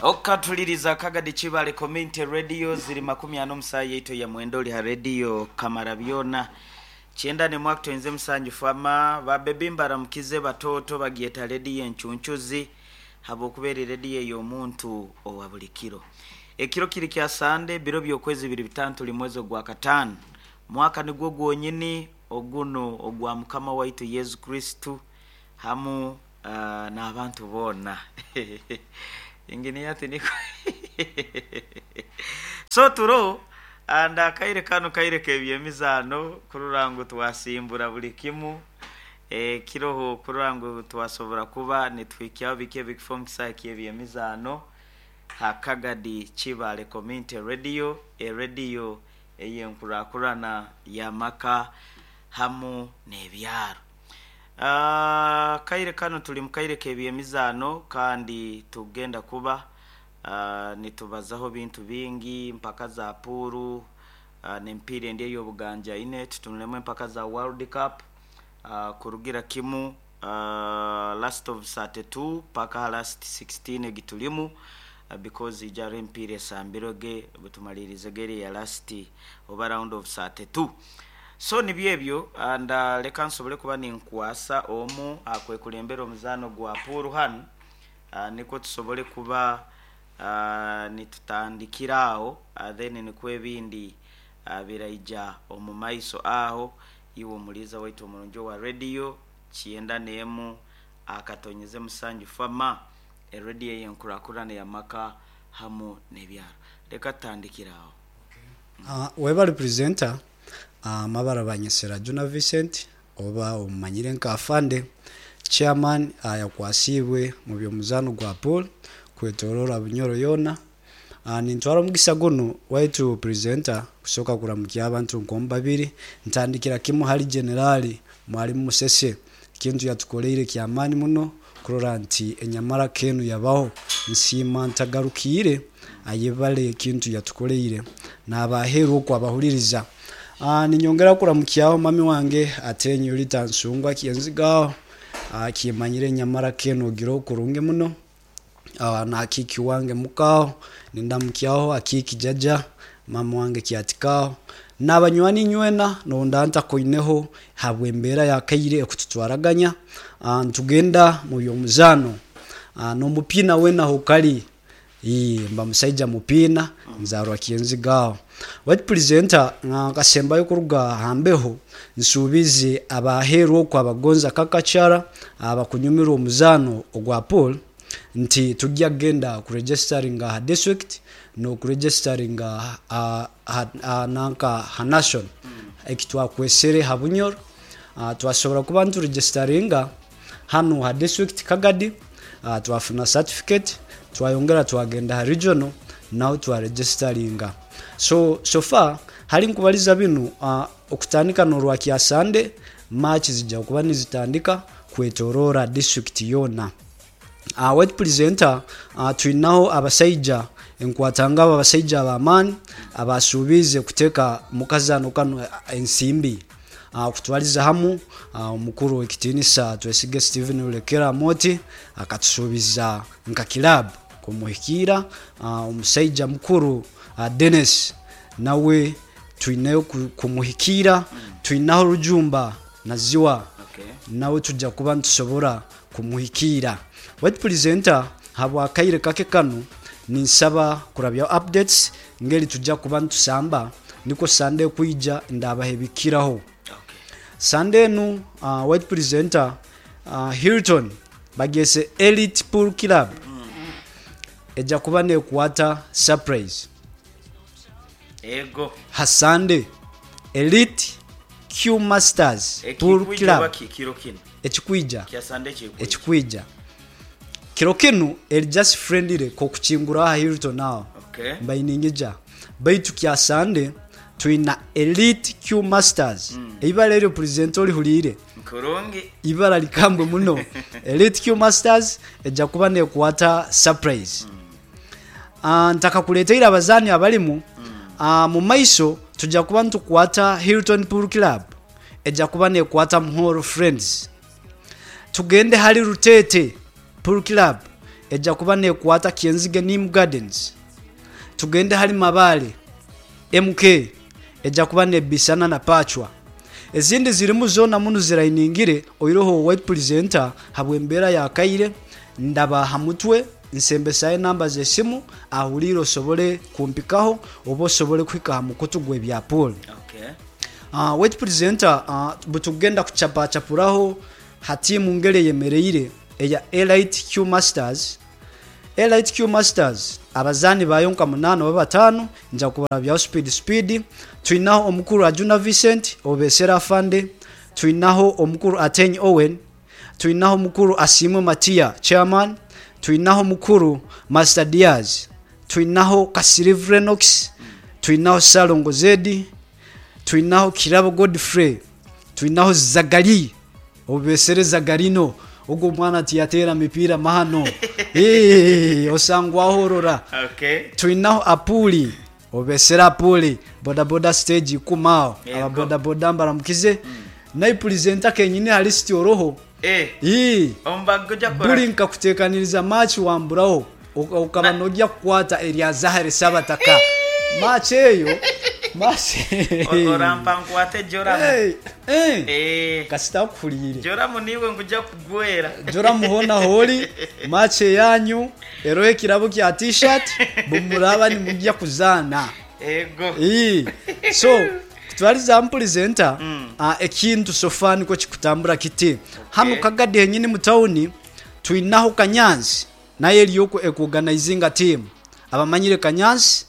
Okatuliriza Kagadi Kibale Community Radio ziri 45 yaitu ya mwenda oli ha radio Kamara byona kyenda nemwe akutoinze musanju fama babebi mbaramukize batoto bagyeta radio enchunchuzi habwokuba eri radio ey'omuntu owa buli kiro. Ekiro kiri kya Sande biro by'okwezi biri bitano tuli mwezi ogwa kataano mwaka nigwo gwonyini oguno ogwa Mukama waitu Yesu Kristo hamu n'abantu boona. Engineer ati niko so turo and akaire kanu kaire k'ebyemizaano kurora ngu twasimbura buli kimu ekiroho kurora ngu twasobora kuba nituhikyaho biki ebikufa omu kisaahe ky'ebyemizaano ha Kagadi Kibaale Community Radio, erediyo ey'enkurakurana y'amaka hamu n'ebyaro. Akaire kanu tuli mu kaire k'ebyemizaano kandi tugenda kuba nitubazaho bintu bingi, empaka za puuru n'emipiira endi ey'obuganjaine, tutunulemu empaka za World Cup kurugira kimu last of 32 paka ha last 16 egi tulimu because ija haroho emipiira esambirwege obutumaliirize eri eya last oba round of 32. So nibyo ebyo and leka nsobole kuba ninkwasa omu akwekulembera omuzaano gwa puuru hanu nikwo tusobole kuba nitutandikira aho then nikwo ebindi biraija omu maiso aho. Iwe omuliiza waitu omurungi owa rediyo kyenda n'emu akatonyeze musanju fama, erediyo ey'enkurakurana ey'amaka hamu n'ebyaro. Leka tutandikire aho. Webale presenter, amabara banyesera Juna Vincent oba omumanyire nka Afande, chairman ayakwasiibwe mu by'omuzaano gwa pool kwetorora Bunyoro yoona. Nintwara omugisa gunu waitu presenter kusooka kuramukya abantu nk'omu babiri, ntandikira kimu hali Generali Mwalimu Musese, ekintu yatukoleire ky'amaani muno kurora nti enyamaraka enu yabaho. Nsiima ntagarukiire ayebale ekintu yatukoleire n'abaheeru oku abahuliriza. Ninyongera kuramukyaho mami wange Atenyo Rita Nsungwa Kyenzigaho, kimanyire enyamaraka enu ogiroho kurungi muno. Na Akiiki wange mukaho, nindamukyaho Akiiki jaja, mama wange Kyatikaho, n'abanywani inywena nonda ntakoineho habw'embeera y'akaire ekututwaraganya. Nitugenda mu by'omuzaano n'omupiina weena hokali, mba musaija mupiina, nzaarwa Kyenziga aho. Waitu pulizenta nkasembayo kuruga ha mbeho, nsuubize ab'aheeru oku abagonza kakachara abakunyumirwa omuzaano ogwa pool nti tugya kugenda kuregestaringa ha district n'okuregestaringa ha nanka ha national eki twakwesere ha Bunyoro. Twasobora kuba nituregestaringa hanu ha district Kagadi, twafuna certificate, twayongera twagenda ha regional naho twaregestaringa. So far hali nkubaliza binu okutandika n'orwa Kyasande, match zija kuba nizitandika kwetorora district yoona. Waitu pulizenta twinaho abasaija enkwatangabo abasaija ab'amaani abasuubiize kuteeka mu kazaano kanu ensimbi. Kutwaliza hamu omukuru w'ekitiinisa Twesige Steven Rulekera Amooti akatusuubiza nka kilaabu kumuhikiira. Omusaija mukuru Dennis nawe twineyo kumuhikiira. Twinaho Rujumba Naziwa nawe tuja kuba nitusobora kumuhikiira. Waitu pulizenta habw'akaire kake kanu ninsaba kurabyaho updates ngeri tuja kuba nitusamba nikwo Sunday ekwija ndabaha ebikiraho. Sunday enu White Presenter Hilton bagyese Elite Pool Club eja kuba nekwata surprise. Ego. Ha Sunday Elite Q Masters Pool Ekikwija Club oba ki kiro kinu? Ekikwija. Kya Sunday ekikwija. Ekikwija. Kiro kinu eri just friendly k'okukinguraho aha Hilton aho. Okay. Mbaire niinyija. Baitu kya Sunday twina Elite Q Masters. Eibara eryo pulizenta orihuliire? Nkurungi. Ibara likambwe muno. Elite Q Masters eja kuba nekwata surprise. Ntakakuleteire abazaani abarimu, mu maiso tuja kuba nitukwata Hilton Pool Club eja kuba nekwata Muhoro Friends. Tugende hali Ruteete Pool Club ejja kuba nekwata Kyenzige Nim Gardens. Tugende hali Mabale, MK ejja kuba nebisana na Pachwa. Ezindi zirimu zoona munu zirainingire oiroho White Presenter habw'embeera ya kaire ndaba ha mutwe nsembesayo enamba z'esimu ahuliire osobole kumpikaho oba osobole kuhika ha mukutu gw'ebya pool. Okay. White Presenter butugenda kuchapachapuraho ha tiimu ngeri eyemereire eya Elite Q Masters. Elite Q Masters abazaani baayo nka munaana oba bataano nja kubarabyaho speed speed. Twinaho omukuru Ajuna Vincent Obesera Afande, twinaho omukuru Ateny Owen, twinaho omukuru Asiimwe Matia chairman, twinaho omukuru Master Diaz, twinaho Kasirivu Renox, twinaho Ssalongo Zedi, twinaho Kirabo Godfrey, twinaho Zagali Obesere Zagarino, ogwo omwana tiyateera mipiira mahano. Eeh, osangwaho orora. Okay. Twinaho Apuli, Obesere Apuli, bodaboda stage ikumi aho. Yego. Aba bodaboda mbaramukize. Naye pulizenta kenyini ha lisiti oroho. Eh. Ii. Omubaga oja kukora Buri ki? nkakuteekaniriza match wamburaho okaba Na nogya kukwata erya Zahare Sabataka. Match eyo, match Orampa nkwate Joramu. Hey, eh. Eh. Kasita akuhuriire. Joramu niiwe nguja kugwera. Joramu hoona hoori, match eyanyu eroho ekirabo kya t-shirt bumuraba nimugya kuzaana. Ego. Ii. So, kutwariza hamu pulizenta, ekintu so far nikwo kikutambura kiti. Hanu Okay. Kagadi henyini mu tawuni twinaho Kanyansi nayo eriyo ekuoganaizinga tiimu. Abamanyire Kanyansi,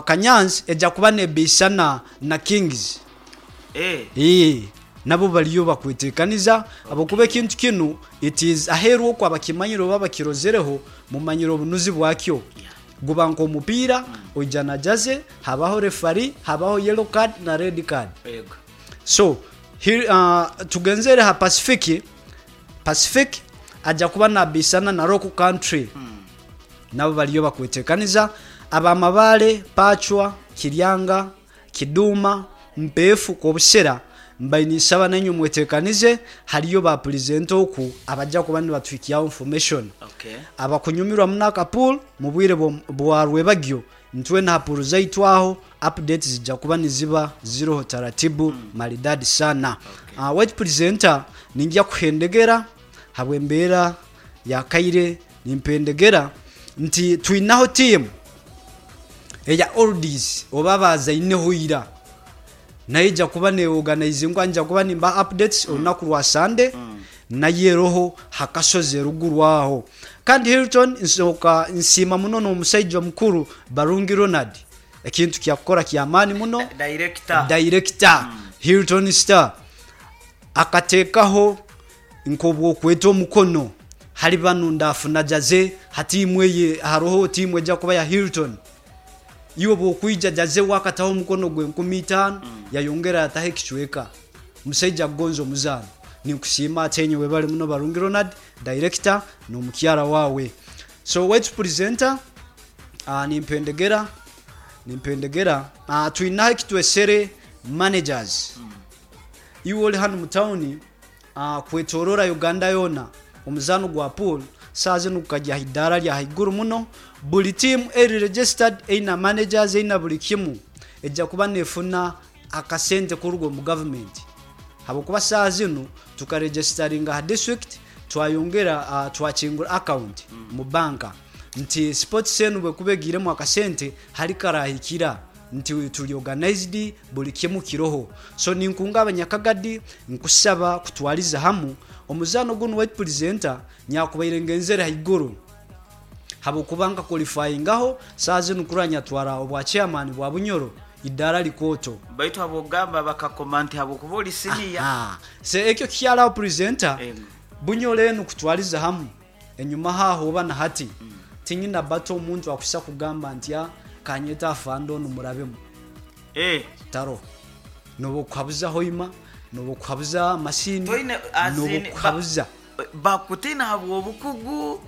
Kanyansi eja kuba nebeisana na Kings. Eh. Ii, nabo bariyo bakwetekaniza habwokuba Okay. ekintu kinu it is aheeru okwo abakimanyire oba abakirozereho mumanyire obunuzi bwakyo. Yeah. Guba nk'omupiira, oija na jaze, habaho refari, habaho yellow card na red card. Ego. So, tugenzere ha Pacific, Pacific aja kuba nabeisana na Rock Country. Nabo bariyo bakwetekaniza. Aba Mabale, Pachwa, Kiryanga, Kiduma, Mpeefu, Kobusera mbaire ninsaba nainywe mwetekanize, hariyo ba pulizenta oku abaja kuba nibatuhikyaho information. Okay. Abakunyumirwa muno aka pool mu bwire bwa rwebagyo ntwena ha pool zaitu aho updates zija kuba niziba ziroho taratibu maridadi sana. Okay. White presenter ningya kuhendegera habw'embeera ya kaire nimpendegera nti twinaho tiimu eya oldies oba abaazaineho ira nayo eija kuba neorganizingwa nija kuba nimbaha updates olunaku rwa Sunday nayo eroho ha kasozi eruguru aho. Kandi Hilton nsooka nsiima muno n'omusaija omukuru Barungi Ronald ekintu kyakukora ky'amaani muno. Director. Director Hilton Star akateekaho nk'obwokweta omukono hali banu ndafuna jaze ha tiimu eye haroho tiimu eja kuba ya Hilton. Iwe bwokwija jaze we akataho omukono gw'enkumi itaano yayongera yataho ekicweka. Omusaija akugonza omuzaano. Ninkusiima ate nyowe webale muno Barungi Ronald, Director n'omukyara waawe. So owaitu Presenter, nimpendegera, nimpendegera, twinaho ekitwesere Managers. Iwe ori hanu mu tawuni kwetorora Uganda yoona, omuzaano gwa pool saaha zinu gukagya aha idaara rya haiguru muno. Buri tiimu eri registered eine managers eine buri kimu eja kuba nefuna akasente kuruga omu gavumenti habwokuba saaha zinu tukaregisitaringa aha district twayongera twakingura account mu banka nti sports enu bwekuba egiiremu akasente hari karahikira nti turi organized buri kimu kiroho. So ninkunga abanyakagadi nkusaba kutwariza hamu omuzaano gunu waitu presenter nyakubaire ngenzere haiguru habwokuba nka qualifyingaho saaha zinu kurora nyatwara obwa chairman bwa Bunyoro idaara likooto. Baitu habw'okugamba bakakoma nti habwokuba ori siniya. Aha. So ekyo kikyaraho presenter, Ego. Bunyoro enu kutwariza hamu enyumaho aho oba na hati tinyina bato omuntu akuhisa kugamba nti a kanyete afande onu murabemu. Eh. Taroho. Nobu okuhabuza Hoima, nobu okuhabuza Masindi, Toine as nobu in okuhabuza. Bakutiina habw'obukugu.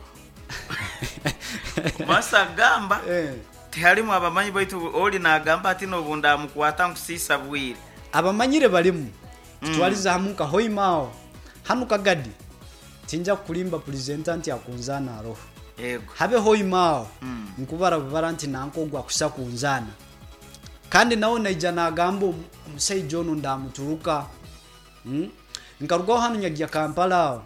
Masa agamba tiharimu abamanyi baitu ori nagamba ati nobu ndamukwata nkusiisa bwire. Abamanyire barimu kutwariza hamu nka Hoima aho. Hanu Kagadi tinja kukurimba pulizenta nti akunzaana aroho. Yego. Habe Hoima aho nkubara bubara nti nanka ogwa kusa kunzaana, kandi nawe naija nagamba omusaija onu ndamuturuka. Nkarugaho hanu nyagya Kampala aho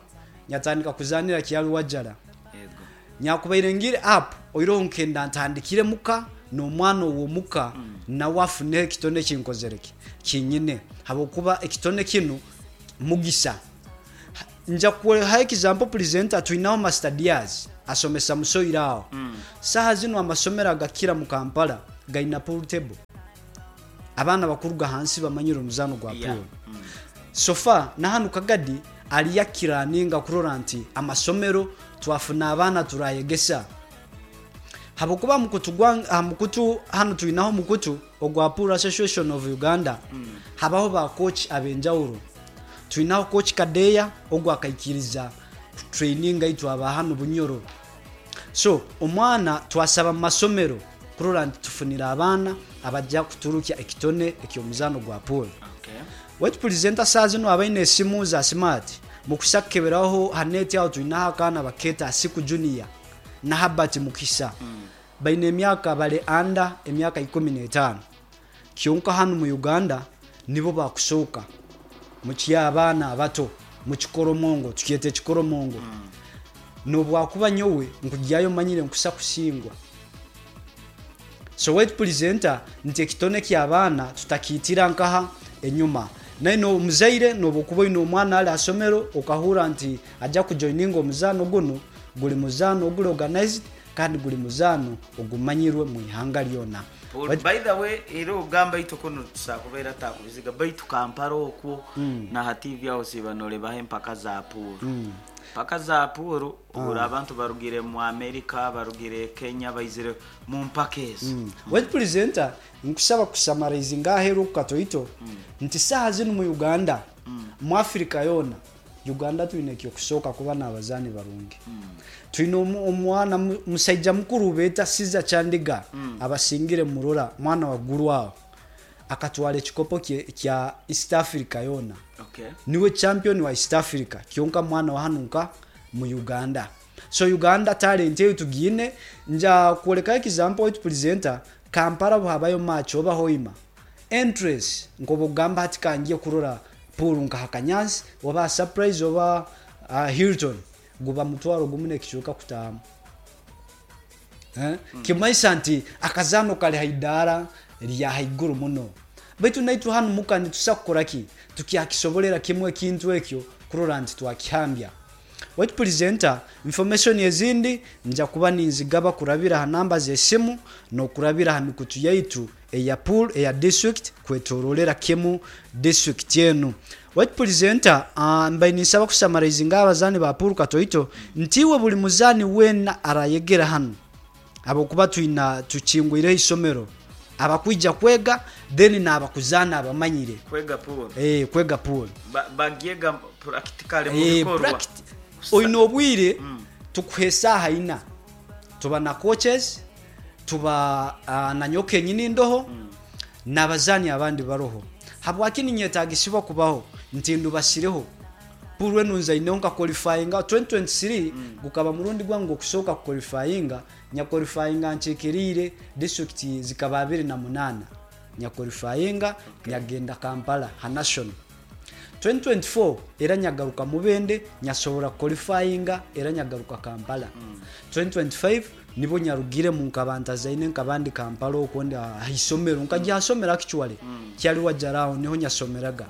nyatandika kuzanira Kyaliwajjala. Yego. Nyakubaire ngire up oiroho nkenda ntandikire muka n'omwana ow'omuka nawe afuneho ekitone kinkozereki kinyine, habwokuba ekitone kinu mugisa. Nja kuha example presenter, twinaho Master Diaz asomesa musoire aho. Saha zinu amasomero agakira mu Kampala gaina pool table, abaana bakuruga hansi bamanyire omuzano gwa pool. So far na hanu Kagadi aliyo akiraninga kurora nti amasomero twafuna abaana turayegesa, habwokuba mukutu gwa ha mukutu hanu twinaho omukutu ogwa Pool Association of Uganda. Habaho ba coach ab'enjawulo, twinaho coach Kadeya ogwo akaikiriza kutraininga itwe aba hanu Bunyoro. So omwana twasaba mu masomero kurora nti tufunire abaana abajja kuturukya ekitone eky'omuzaano gwa pool. Waitu presenter, saa zinu abaine esimu za smart mukusa kukeberaho ha net aho twinaho akaana baketa Asiku Junior na Habert Mukisa. Baine emyaka, bali under emyaka 15, kyonka hanu mu Uganda nibo bakusooka muky'abaana abato mukikoromongo, tukyeta ekikoromongo. Nobwakuba nyowe nkugyayo manyire nkusa kusingwa. So waitu presenter, nti ekitone ky'abaana tutakiitira nkaha enyuma. Naye n'omuzaire noba okuba oine omwana ali hasomero okahurra nti ajja kujoininga omuzaano gunu, guli muzaano oguli organized kandi guli muzaano ogumanyirwe mu ihanga lyona. Pool, by the way, era ogamba itwe kuno tusakubeera takubiziga, baitu Kampala okwo na ha TV aho siba norebaho empaka za pool. Mpaka za pool obura abantu barugire mu America, barugire Kenya, baizire mu mpaka ezo. Waitu presenter, nkusaba kusummarizinga aheeru oku katoito nti saaha zinu mu Uganda, mu Africa yoona, Uganda twine ekyokusooka kuba n'abazaani barungi. Twine omwana musaija mukuru beeta Caesar Chandiga, abasingire murora mwana wa Gulu aho akatwara ekikopo kya East Africa yoona. Niwe champion wa East Africa, kyonka mwana wa hanu nka mu Uganda. So Uganda talent eyo tugiine. Nja kwolekayo example, waitu presenter, Kampala buhabayo match oba Hoima, entrance nkoba okugamba hati kangiye kurora pool nka Hakanyansi oba Surprise oba Hilton, guba 10,000 n'ekicweka kutamu, eh? Kimaisa nti akazaano kali haidara lya haiguru muno, baitu naitwe hanu muka nitusa kukora ki tukyakisobolera kimwe ekintu ekyo kurora nti twakihambya. Waitu presenter, information ezindi nja kuba ninzigaba kurabira ha namba z'esimu n'okurabira ha mikutu yaitu eya pool eya district kwetorolera kimu district enu. Waitu presenter, mbaire ninsaba kusummarizinga abazaani ba pool katoito nti iwe buli muzaani weena arayegera hanu, habwokuba twina tukingwireho isomero abakwija kwega then n'abakuzaana abamanyire. Kwega pool. Eh, kwega pool. Bagyega practically mu bikorwa. Oine obwire tukuha esaaha 4, tuba na coaches, tuba na nyowe kenyini ndoho n'abazaani abandi baroho. Habwaki ninyetagisibwa kubaho nti ndubasireho pool enu nzaineho nka qualifyinga 2023, gukaba murundi gwange gw'okusooka kuqualifyinga. Nyaqualifyinga nkiikiriire district zikaba 28, nyaqualifyinga nyagenda Kampala ha national. 2024 era nyagaruka Mubende, nyasobora qualifyinga era nyagaruka Kampala. 2025 nibo nyarugiremu nkaba ntazaine nkabandi Kampala okwo ndi aha isomero nkajya hasomero, actually kyali wajaraho niho nyasomeraga.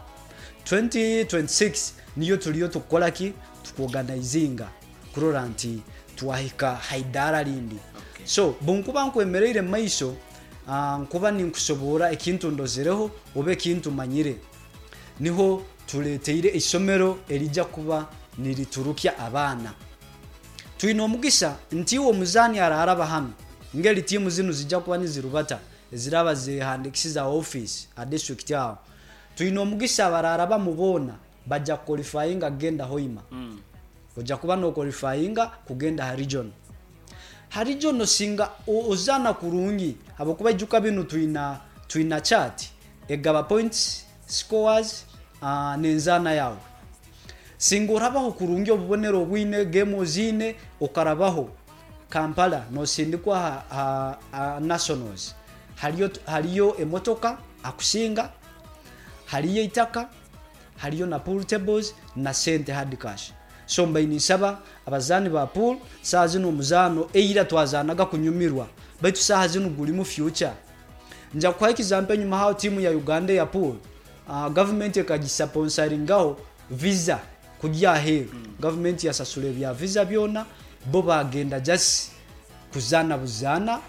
2026 niyo tuliyo tukukora ki tukuorganizinga kurora nti twahika haidara rindi. So bunkuba nkwemereire mu maiso, nkuba ninkusoboora ekintu ndozereho oba ekintu manyire, niho tuleteire isomero erijja kuba niriturukya abaana. Twine omugisa nti iwe omuzaani araraba hanu ngeri tiimu zinu zijja kuba nizirubata eziraba zehandikisiza office a district aho, twine omugisa abararabamu boona bajja kuqualifyinga kugenda Hoima. Ojja kuba noqualifyinga kugenda ha region. Ha region singa ozaana kurungi, habwokuba ijuka binu twina chart egaba points, scores, n'enzaana yawe. Singa orabaho kurungi obubonero obwine game oziine okarabaho. Kampala nosindikwa ha nationals, hariyo emotoka akusinga, hariyo eitaka, hariyo na pool tables na sente hard cash. So mbaire ninsaba abazaani ba pool, saaha zinu omuzaano eira twazaanaga kunyumirwa baitu saaha zinu gurimu future. Nja kukuha example enyuma aho tiimu ya Uganda eya pool, gavumenti ekagisaponsaringaho visa kurya aheeru. Gavumenti yasasura ebya visa byona, bo baagenda just kuzaana buzaana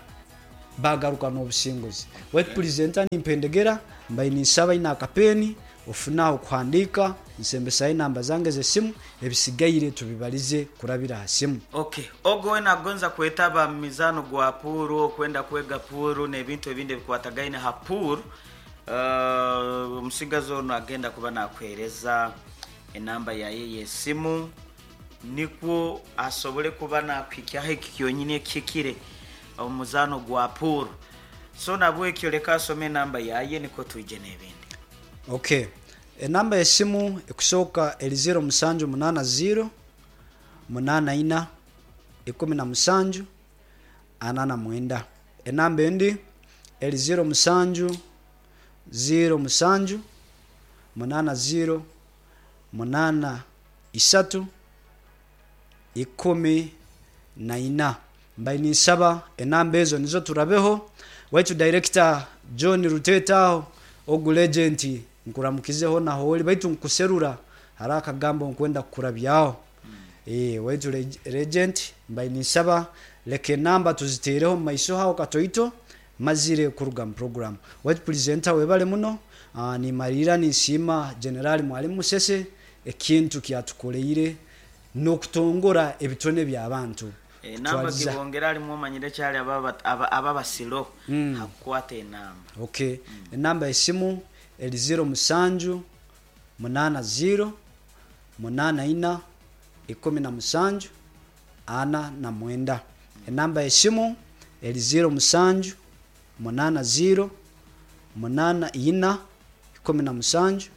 baagaruka n'obusinguzi. Baitu purezenta nimpendegera, mbaire ninsaba aine akapeeni ofune aho kuhandiika, nsembesayo enamba zange z'esimu, ebisigaire tubibarize kurabira aha simu. Ok, ogu weena agonza kwetaba mu mizaano gwa puuru, okwenda kwega puuru n'ebintu ebindi ebikwatagaine ha puuru, omusigazi onu agenda kuba nakuheereza enamba yaye ey'esimu nikwo asobole kuba nakuhikyaho eki kyonyini ekihikire omu muzaano gwa puuru. So nabwekyo leka asome enamba yaye nikwo twije n'ebindi. Ok, enamba y'esimu ekusooka eri zeero musanju munaana zeero, munaana ina, ikumi na musanju, ana na mwenda. Enamba endi eri zeero musanju, zeero musanju, munaana zeero, munaana isatu, 14. Mbaire ninsaba enamba ezo nizo turabeho. Waitu Director John Ruteta aho, ogu legend nkuramukize hona ahori baitu nkuserura hariho akagambo nkwenda kukurabyaho. Waitu legend mbaire ninsaba leka enamba tuzitereho omu maiso aho katoito mazire kuruga mu program. Waitu presenter webale muno, nimariira ninsiima General Mwalimu Musese ekintu kyatukoreire n'okutongora ebitone by'abantu. Enamba Kutwaliza. gibongera alimu omanyire kyali aba basilo hakukwata enamba. Ok, enamba y'esimu eri zeero musanju, munaana zeero, munaana ina, 17, 49. Enamba y'esimu eri zeero musanju, munaana zeero, munaana ina, 17,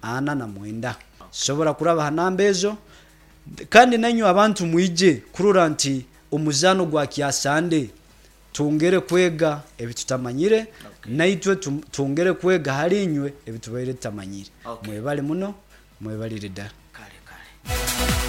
49. Sobola kuraba ha namba ezo. Kandi nainywe abantu mwije kurora nti omuzaano gwa Kyasande twongere kwega ebitutamanyire, naitwe twongere kwega hali inywe ebitubaire tutamanyire. Okay. Mwebale muno, mwebalire ddala. Kale kale.